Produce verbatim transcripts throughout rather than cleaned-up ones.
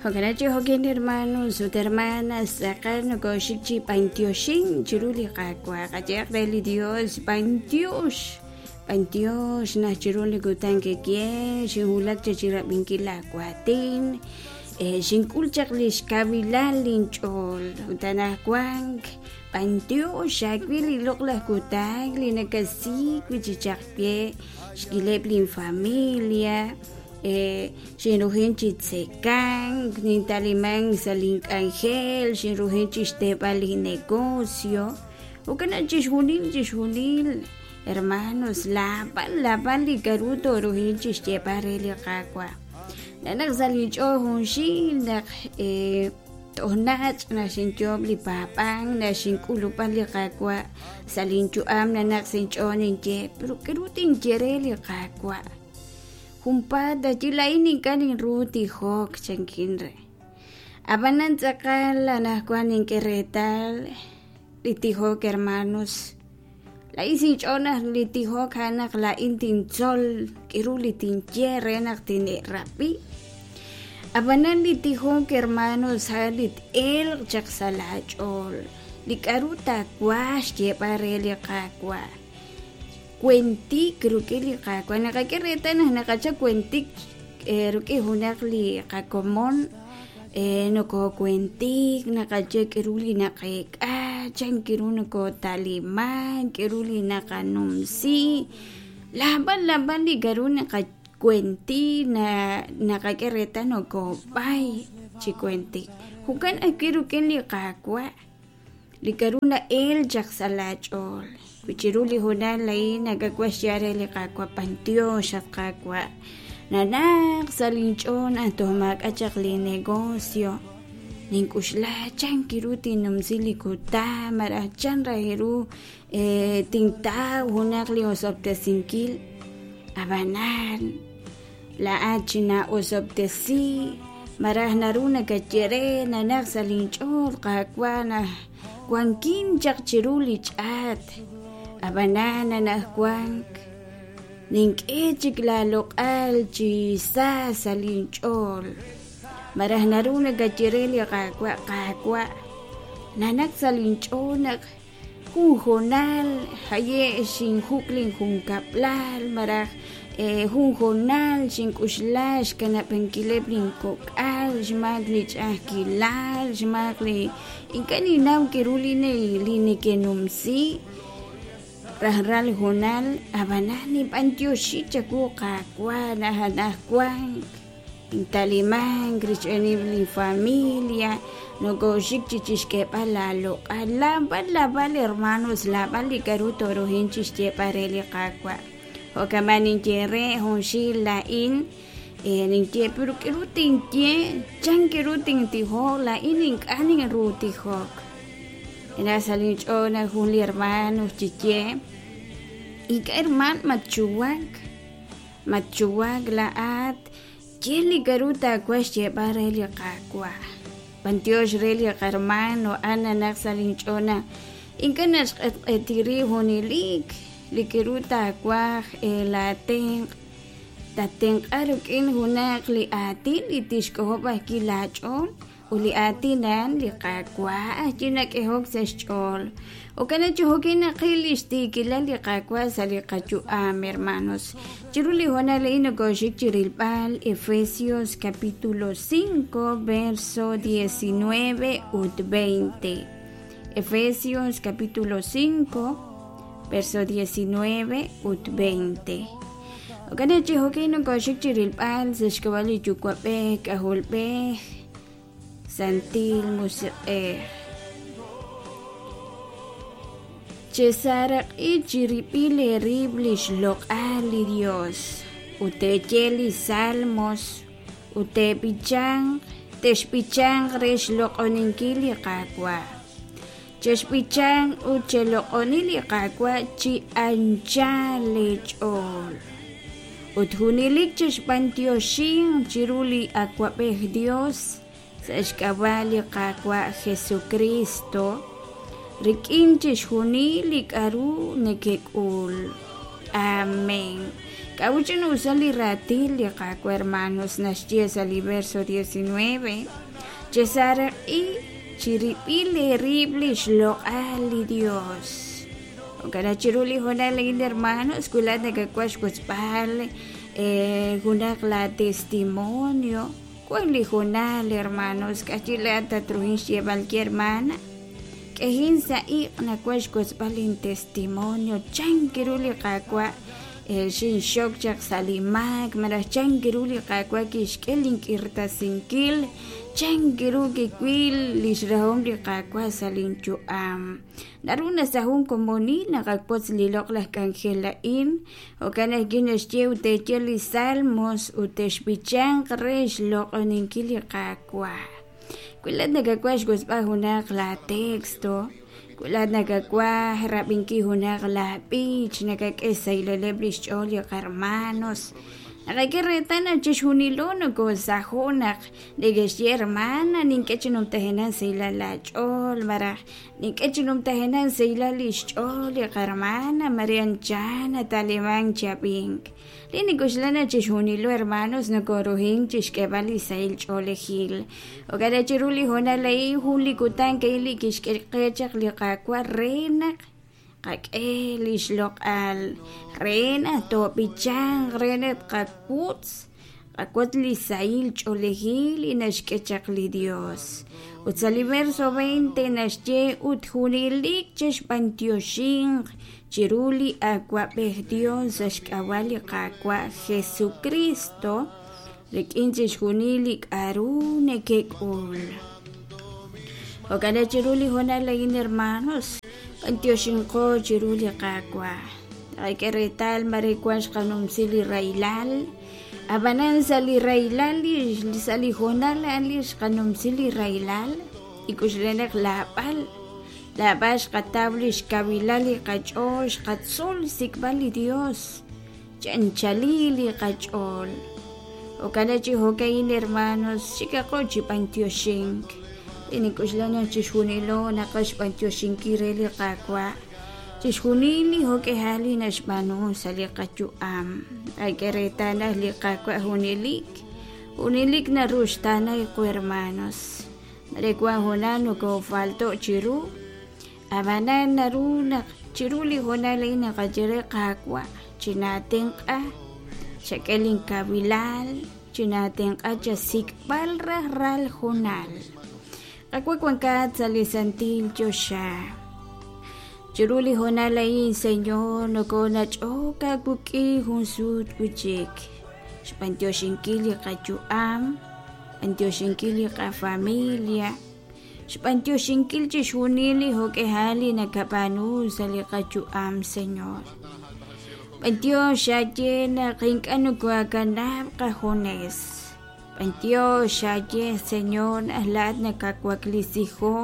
Jo'kan chi jo'kin hermanos ut hermanas tz'aqal nokoxik chi b'antioxin chiru li Qaawa' qayehaq re li Dios b'antiox b'antiox naj chiru li kutan kikye xinwulak cha chirab'inkil laawaatin xink'ul chaq li xkawilal linch'ool ut anaqwan b'antiox xaawil li loq'laj kutan li nakasik wi' chi chaq ye xk'ileb' linfamilia xinrujin chi tzekank nintaliman sa' link'anjel xinrujin chi xteeb'al linnegocio jo'kan chixjunil chixjunil hermanos laab'al laab'al li k'aru toorujin chi xyeeb'al re li Qaawa' nanaq sa' linch'ool junxil naq toj nach' naxinyoob' li paab'ank naxink'ulub'an li Qaawa' sa' linyu'am nanaq sa' inch'ool ninye pero k'aru tinye re li Qaawa' junpaat ayi laa'in ink'a' ninru tijok chankin re ab'anan tz'aqal anaqwan nink'e reetal li tijok hermanos laa'in sinch'ool naq li tijok a'an naq laa'in tintzol k'aru li tinye re naq tine'rab'i ab'anan li tijok hermanos a'an li t-elq chaq sa' laach'ool li k'aru taawaj xyeeb'al re li Qaawa' kuentik rik'in li Qaawa' naqak'e reetal naq naqachap kuentik rik'in junaq li qakomon nokokuentik naqaye k'aru li naqeek'a chan k'aru nokotaliman k'aru li naqanumsi laab'al laab'al li k'aru naqakuenti na naqak'e reetal nokob'ay chi kuentik jo'kan ajwi' rik'in li Qaawa' li k'aru na'el chaq sa' laach'ool wi chiru li hoonal a'in nakawaj xyeeb'al re li Qaawa' b'antiox at Qaawa' nanaq sa' linch'ool naq toj maak'a' chaq li negocio nink'uxla chan k'aru tinnumsi li kutan malaj chan raj ru tintaw junaq li osob'tesinkil ab'anan laa'at chinaa'osob'tesi malaj naru nakaye re nanaq sa' linch'ool Qaawa' naq wankin chaq chiru li ch'aat ab'anan anaqwan nink'e chik laaloq'al chi sa sa' linch'ool malaj naru nakaye re li Qaawa' Qaawa' nanaq sa' linch'ool naq jun hoonal haye' xinjuk' linjunkab'lal malaj jun hoonal xink'uxla xkanab'ankileb' linkok'al xmaak li ch'a'ajkilal xmaak li ink'a' ninnaw k'aru li li neke'numsi rajlal hoonal ab'anan ninb'antioxi chawu Qaawa' naq anaqwan intalimank rich'eeneb' linfamilia nokoxik chi chixk'eeb'al laaloq'al laab'al laab'al hermanos laab'al li k'aru toorujin chi xyeeb'al re li Qaawa' jo'kan ninye re junxil laa'in ninye pero k'aru tinye chan k'aru tintijok laa'in ink'a' ninru tijok naq sa' linch'ool naq jun li hermano chiye ink'a' herman matchuwak matchuwak laa'at ye li k'aru taawaj xyeeb'al re li Qaawa' b'antiox re li qarmano a'an nanaq sa' linch'ool naq ink'a' naxq'etq'eti rib' junelik li k'aru taawaj laatenq' tatenq'a rik'in junaq li aatin li tixk'ojob' ajwi' laach'ool ut li aatin a'an li Qaawa' ajwi' nak'ehok sa' xch'ool jo'kan chi jo'kin naqil li xtiikilal li Qaawa' sa' li qayu'am hermanos chiru li hoonal a'in nokoxik chi rilb'al Efesios capítulo cinco verso diecinueve ut veinte Efesios capítulo cinco verso diecinueve ut veinte jo'kan chi jo'kin nokoxik chi rilb'al sa' xk'ab'a' li Yuwa'b'ej K'ajolb'ej Santil Musiq'ej chesaraq'i chirib'il eerib' li xloq'al li Dios ut teeye li salmos ut teeb'ichanq texb'ichanq re xloq'oninkil li Qaawa' chexb'ichanq ut cheloq'oni li Qaawa' chi anchal leech'ool ut junelik chexb'antioxin chiru li Awab'ej Dios sa' xk'ab'a' li Qaawa' Jesucristo rik'in chixjunil li k'aru nekek'ul. Amén. K'a'uch inusa li raatin li Qaawa' hermanos naxye sa' li verso diecinueve chesaraq'i chirib'il eerib' li xloq'al li Dios. Jo'kan chiru li hoonal a'in hermanos wi laa'at nakawaj xwotzb'al junaq la testimonio wan li hoonal hermanos k'achi laa'at tatruhin xyeeb'al kye hermana k'ejin sa' iq' nawaj xwotzb'al lin testimonio chan ru li Qaawa' xinxok chaq sa' li maak malaj chan ru li Qaawa' kixk'e link'irtasinkil chan ru kiwil li xrahom li Qaawa' sa' linyu'am naru na sa' jun komonil naqawotz li loq'laj k'anjel a'in jo'kan ajwi' naxye ut teeye li salmos ut texb'ichanq re xloq'oninkil li Qaawa' wi laa'at nakawaj xwotzb'al junaq la texto wi laa'at nakawaj rab'inkil junaq la b'ich nakak'e xsahileb' li xch'ool li qarmanos naqak'e reetal naq chixjunilo nokosajo' naq neke'xye hermana nink'e chi numtajenaq sahilal laach'ool malaj nink'e chi numtajenaq sahilal li xch'ool li qarmana Maria Chan nata'liman chi ab'ink li nik'uxla naq chixjunilo hermanos nokoruhin chixk'eeb'al li sahil ch'oolejil jo'kan chiru li hoonal a'in jun li kutan a'in li kixk'e qe chaq li Qaawa' re naq qak'e li xloq'al re naq toob'ichanq re naq qawutz qawutz li sahil ch'oolejil li naxk'e chaq li Dios ut sa' li verso veinte naxye ut junelik chexb'antioxinq chiru li Awab'ej Dios sa' xk'ab'a' li Qaawa' Jesucristo rik'in chixjunil li k'a'ru nekek'ul. Jo'kan chiru li hoonal a'in hermanos b'antioxinqo chiru li Qaawa' taqak'e reetal mare wan xqanumsi li rahilal ab'anan sa' li rahilal li sa' li hoonal a'an li xqanumsi li rahilal ik'uxla naq laab'al laab'al xqataw li xkawilal li qach'ool xqatzol xsik'b'al li Dios chanchalil li qach'ool jo'kan chi jo'ka'in hermanos xikaqo chi b'antioxink inik'uxla naq chixjunilo naqaj xb'antioxinkil re li Qaawa' chixjunil li jo'k'ejal li naxb'aanu sa' li qayu'am qak'e reetal naq li Qaawa' junelik junelik naruxtaana qu hermanos mare wan hoonal nokofalto' chiru ab'anan naru naq chiru li hoonal a'in naqaye re Qaawa' chinatenq'a chak'e linkawilal chinatenq'a chasik'b'al raj ral hoonal Qaawa' wankat sa' li santil choxa chiru li hoonal a'in Señor nokonach'ok aawik'in jun sut wi'chik xb'antioxinkil li qayu'am xb'antioxinkil li qafamilia xb'antioxinkil chixjunil li jo'k'ejal li nakab'aanu sa' li qayu'am Señor b'antiox xaye naq ink'a' nokoakanab' qajunes b'antiox xaye Señor naq laa'at nakawaklisijo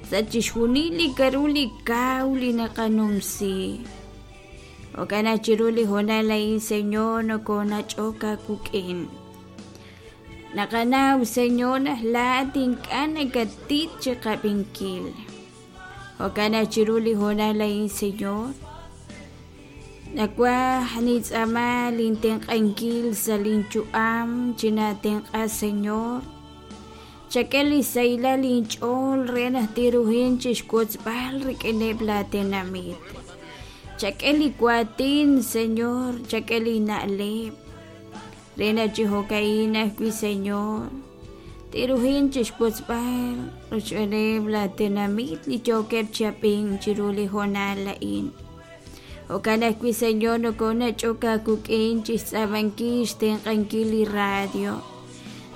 sa' chixjunil li k'a'ru li kaw li naqanumsi jo'kan naq chiru li hoonal a'in Señor nokonach'ok aawik'in naqanaw Señor naq laa'at ink'a' nakatit chiqab'inkil jo'kan naq chiru li hoonal a'in Señor nawaj nitz'aama lintenq'ankil sa' linyu'am chinatenq'a Señor chak'e li sahilal linch'ool re naq tiruhin chixwotzb'al rik'ineb' laatenamit chak'e li waatin Señor chak'e li na'leb' re naq chi jo'ka'in ajwi' Señor tiruhin chixwotzb'al rochb'eeneb' laatenamit li yookeb' chi ab'ink chiru li hoonal a'in jo'kan ajwi' Señor nokonach'ok aawik'in chixtz'aamankil xtenq'ankil li radio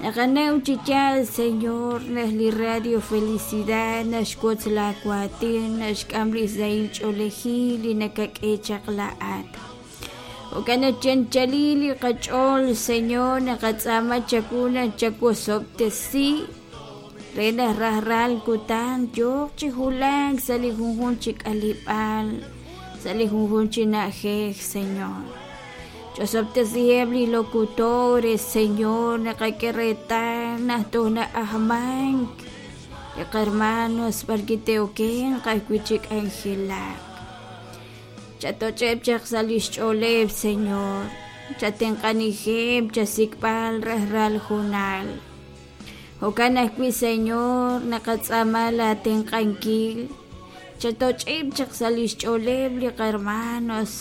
naqanaw chi yaal Señor naq li radio Felicidad naxwotz laawaatin naxk'am li sahil ch'oolejil li nakak'e chaq laa'at jo'kan naq chanchalil li qach'ool Señor naqatz'aama chawu naq chawosob'tesi re naq rajlal kutan yooq chi wulak sa' li junjun chi k'aleb'aal sa' li junjun chi na'ajej Señor ch'osob'tesiheb' li locutores Señor naqak'e reetal naq toj na'ajmank li qarmanos b'arki te'okenq ajwi' chi k'anjelak Chatoch'eb' chaq sa' lix ch'ooleb', Señor. Chatenq'anijeb' chasik'b'al rajlal junal. Jo'kan ajwi', Señor, naqatz'aama laatenq'ankil. Chatoch'eb' chaq sa' lix ch'ooleb' li qarmanos.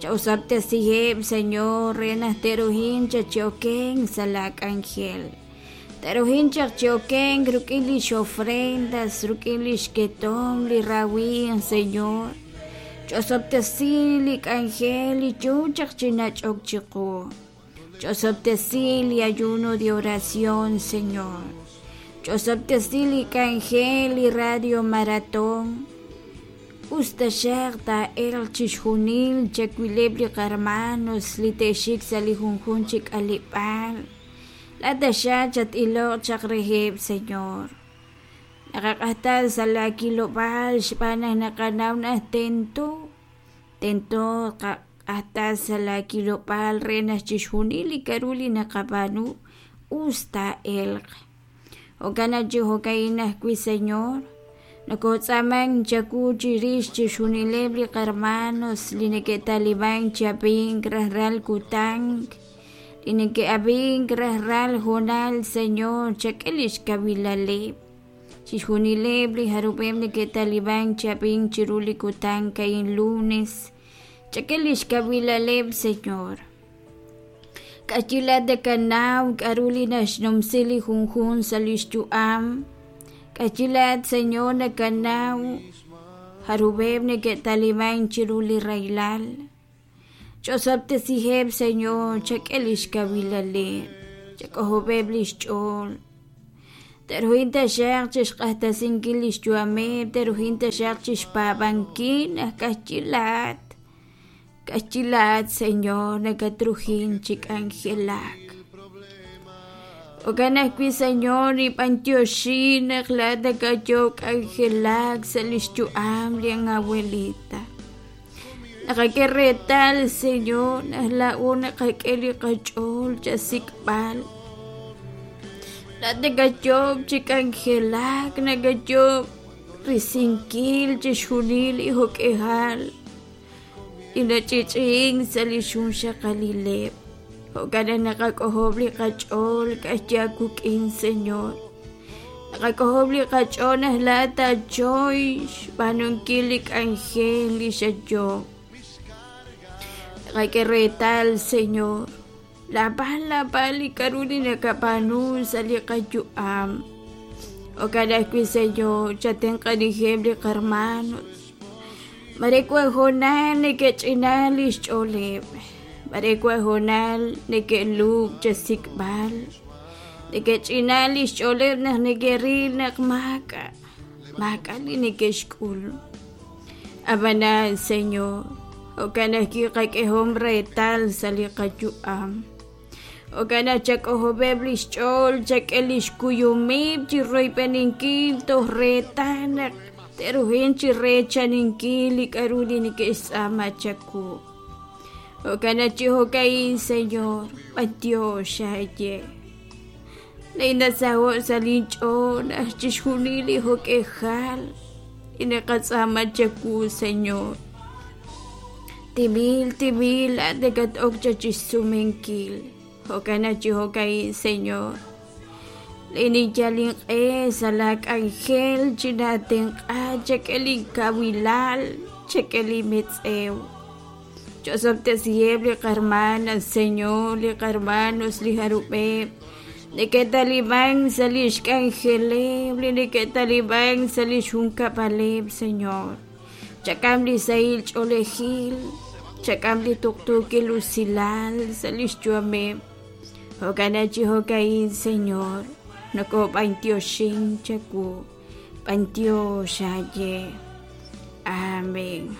Chawsab'tesiheb', Señor, re naq te'ruhin chachi'oken sa' la k'anjel. Te'ruhin chaq chi'oken ruk'in lix ofrendas, ruk'in lix ketom li rawin, Señor. Ch'osob'tesi li k'anjel li yoo chaq chi nach'ok chiqu. Ch'osob'tesi li ayuno de oración, Señor. Ch'osob'tesi li k'anjel li radio maratón. Us taxaq taa'elq chixjunil chawileb' li qarmanos li te'xik sa' li junjun chi k'aleb'aal. La taxaq chat-iloq chaq reheb', Señor. Naqaq'ajtal sa' la kilob'aal xb'aan naq naqanaw naq tento tento qaq'ajtal sa' la kilob'aal re naq chixjunil li k'a'ru li naqab'aanu us taa'elq. Jo'kan naq chi jo'ka'in ajwi', Señor, nokotz'aaman chawu chirix chixjunileb' li qarmanos li neke'taliban chi ab'ink rajlal kutan, li neke'ab'ink rajlal junal, Señor, chak'e lix kawilaleb'. Chixjunileb' li jarub'eb' neke'taliban chi ab'ink chiru li kutan ka'in lunes, chak'e lix kawilaleb', Señor. K'ayilat nakanaw k'a'ru li naxnumsi li junjun sa' lix yu'am. K'ayilat, Señor, nakanaw jarub'eb' neke'taliban chiru li raylal. Ch'osob'tesiheb', Señor, chak'e lix kawilaleb', chak'ojob'eb' lix ch'ool. Te'ruhin taxaq chixq'ajtasinkil lix yu'ameb', te'ruhin taxaq chixpaab'ankil naq k'ayilat. K'ayilat, Señor, nakatruhin chi k'anjelak. Jo'kan ajwi', Señor, nib'antioxi naq laa'at nakayo k'anjelak sa' lix yu'am li abuelita. Naqak'e reetal, Señor, naq laa'o naqak'e li qach'ool chasik'b'al. Laa'at nakayob' chi k'anjelak, nakayob' risinkil chixjunil li jo'k'ejal li nach'i'ch'i'ink sa' li xunxaqalileb'. Jo'kan naq naqak'ojob' li qach'ool k'axyaakuk'in, Señor. Naqak'ojob' li qach'ool naq laa'at taachoy xb'aanunkil li k'anjel li xayob'. Naqak'e reetal, Señor, lab'al lab'al li k'a'ru li nakab'aanu sa' li qayu'am. Jo'kan ajwi', Señor, chatenq'anijeb' li qarmanos. Mare wan hoonal neke'ch'inal lix ch'ooleb'. Mare wan hoonal neke'lub' chasik'b'al. Neke'ch'inal lix ch'ooleb' naq neke'ril naq maak'a' maak'a' li neke'xk'ul. Ab'anan, Señor, jo'kan ajwi' qak'ehom reetal sa' li qayu'am. Jo'kan naq chak'ojob'eb' lix ch'ool, chak'e lix kuyumib' chi royb'eninkil toj reetal naq te'ruhin chi reechaninkil li k'a'ru li neke'xtz'aama chawu. Jo'kan naq chi jo'ka'in, Señor, b'antiox xaye. Ninasaho' sa' linch'ool naq chixjunil li jo'k'ejal li naqatz'aama chawu, Señor. Timil, timil, laa'at nakat'ok chachixsumenkil. Jo'kan naq chi jo'ka'in, Señor, ninyal inq'e sa' la k'anjel chinatenq'a chak'e linkawilal, chak'e li metz'ew. Ch'osob'tesiheb' li qarmanas, Señor, li qarmanos li jarub'eb' neke'taliban sa' lix k'anjeleb', li neke'taliban sa' lix junkab'aleb', Señor. Chak'am li sahil ch'oolejil, chak'am li tuqtuukil usilal sa' lix yu'ameb'. Jo'kan naq chi jo'ka'in, Señor, nokob'antioxin chawu, b'antiox xaye. Amén.